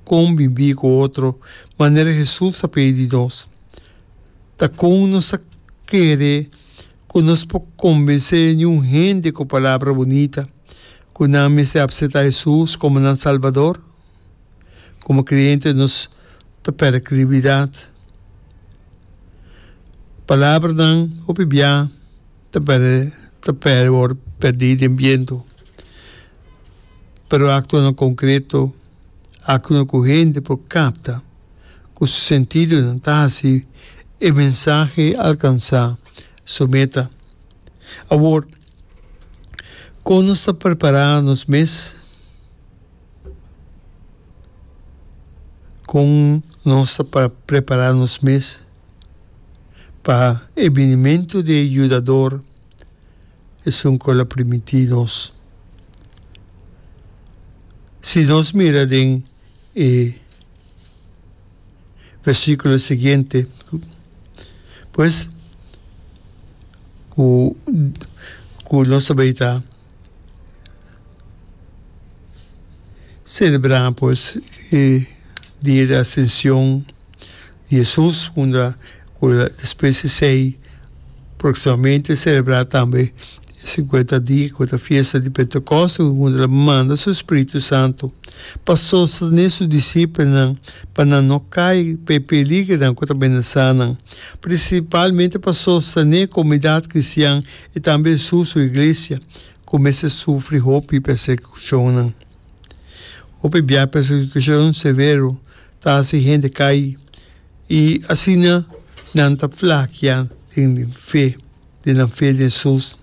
Konbibí ku otro manera Hesus a pidi di nos. Ta kon nos ta kere ku nos por konbensé niun hende ku palabra bunita ku nan mester apseptá Hesus komo nan Salbador? Komo kreyente nos ta pèrdè kredibilidat. Palabranan hopi bia ta pèrdè ta pèrdè wòrdu pèrdí den bientu. Pero aktonan konkreto, aktonan ku hende por kapta ku su sentidonan ta hasi e mensahe alkansá su meta. Awor, kon nos ta prepará nos mes? Kon nos ta prepará nos mes pa e binimentu di e Yudador, esun ku el a primintí nos? Si nos mira den e versíkulo siguiente, pues ku ku nos ta bay ta selebrá pues e dia di Asension di Hesus unda ku despues di esei próksimamente selebrá tambe e sinkuenta dia ku ta fiesta di Pentekòste unda el a manda su Spiritu Santu pa sostené su disipelnan pa nan no kai pa e peligernan ku ta menasá nan, prinsipalmente pa sostené komunidat kristian i tambe Hesus su iglesia ku mester sufri hopi persekushonnan. Hopi bia persekushon severo ta hasi hende kai i asina nan ta flakia den fe, den nan fe den Hesus.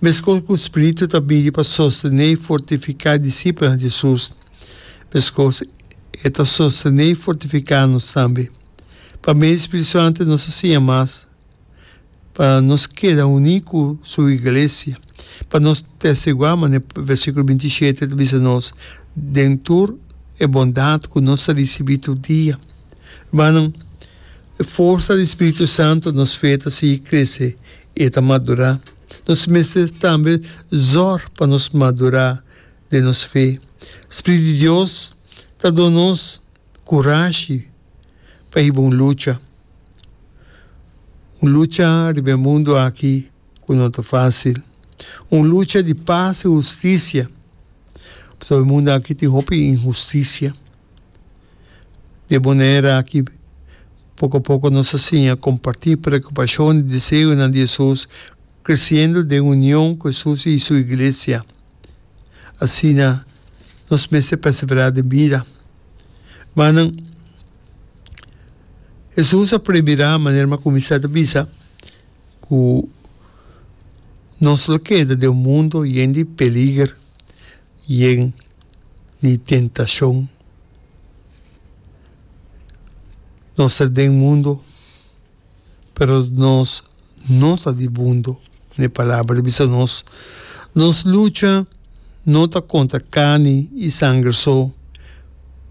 Meskos ku spiritu ta bini pa sostené i fortifiká e disipelnan di Hesus, meskos e ta sostené i fortifiká nos tambe. Pa medio di spiritu santu nos ta siña mas. Pa nos keda uní ku su iglesia, pa nos testiguá, manera versíkulo 27 ta bisa nos, den tur e bondat ku nos ta risibí tur dia. Hermannan, e forsa di Spiritu Santu nos fe ta sigui krese i e ta madurá. Nos mester tambe zòrg pa nos madurá den nos fe. Spiritu di Dios ta duna nos kurashi pa hiba un lucha. Un lucha riba e mundu aki ku no ta fásil. Un lucha di pas i hustisia, pasobra e mundu aki tin hopi inhustisia. Di e manera aki, poko a poko nos ta siña kompartí preokupashon i deseonan di Hesus, kresiendo den union ku Hesus i su iglesia. Asina nos mester perseverá den bida. Manan, Hesus a premirá manera mi a kuminsá ta bisa ku nos lo keda den un mundu yen di peliger, yen di tentashon. Nos ta den mundu. Pero nos no ta di mundu, e Palabra ta bisa nos. Nos lucha no ta kontra karni i sanger so,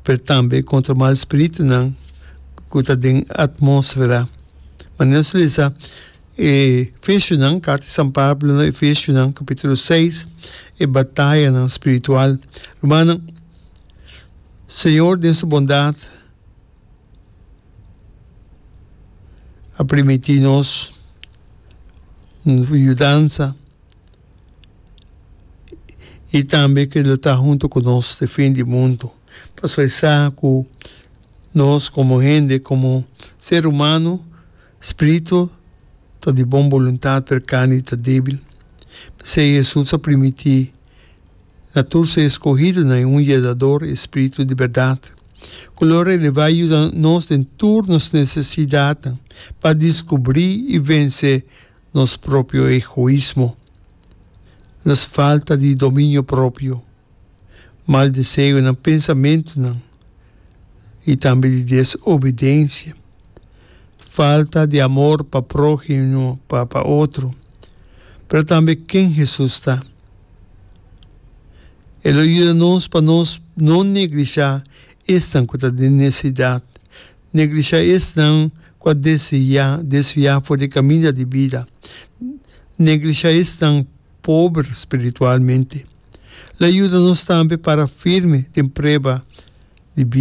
pero tambe kontra mal spiritunan ku ta den atmósfera. Manera nos lesa e Efesionan, karta di San Pablo na Efesionan, kapítulo seis, e batayanan spiritual. Rumannan, Señor den su bondat a primiti nos yudansa y tambe ke lo ta hunto ku nos te fin di mundo. Pasobra e sa ku nos komo hende, komo ser humano, spiritu ta di bon boluntat pero karni ta debil. P'esei Hesus a primiti Na tur su escogidonan e un Yedador, e Spiritu di berdad, cu lo releva y yuda nos den tur nos necesidadnan pa descubri y vence nos propio egoismo, nos falta di dominio propio, mal deseonan, pensamentonan y tambe di desobedencia, falta di amor pa prohimo, pa otro, pero tambe ken Jesus ta. E lo yuda nos pa nos no neglishá esnan ku ta den nesesidat, neglishá esnan ku a desviá, desviá for di e kaminda di bida, neglishá esnan pober spiritualmente. Lo yuda nos tambe para firme den prueba.